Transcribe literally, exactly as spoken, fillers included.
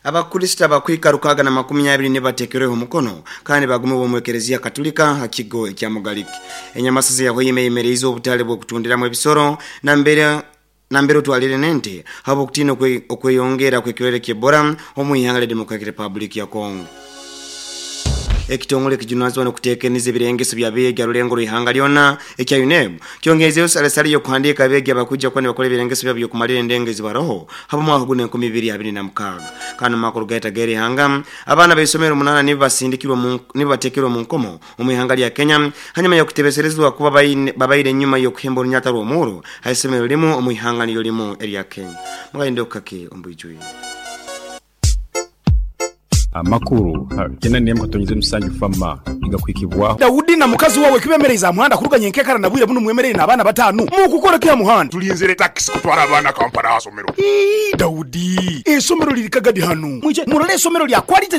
Abakristo abakwika rukaga na makumi abiri nibatekereho omukono kandi bagumibwa omu ekereziya Katolika ha kigo ekya Mugaliki. Enyamasizi ya Hoima eyemereize obutale bw'okutundiramu ebisoro nambere nambere otwalire nente habw'okutiina okweyongera kw'ekirwaire ky'Ebola omu ihanga lya Democratic Republic ya Congo. Ekitongole ekijunanizibwa n'okuteekaniza ebirengeso by'abeegi ha rulengo rw'ihanga lyona ekya UNEB kyongezeyo salesale y'okuhandiika abeegi abakwija kuba nibakora ebirengeso byabo by'okumalira endengo ezibaroho habw'omwaka guno enkumi ibiri abiri na mukaaga. Kandi omu makuru gaita g'erihanga, abaana b'isomero munaana nibo basindikirwe nibo bateekerwe omu nkomo omu ihanga lya Kenya hanyuma y'okutebeserezibwa kuba babaire enyuma y'okuhemba orunyata rw'omuhuro ha isomero limu omu ihanga niryo limu erya Kenya. Mugayinde okukake omu bwijwire. Amakuru kenda nemu katonyeze musanju fama igakwikibwaho. Daudi na mukazi wawe kibemereza muhanda kuruganya enkekara na bwire buno mwemerere n'abaana batanu mukukora kya muhanda. Tulinzire taxi kutwara abaana Kampala asomero. Ii, Daudi, esomero liri kagadi hanu mwije murole esomero lya quality.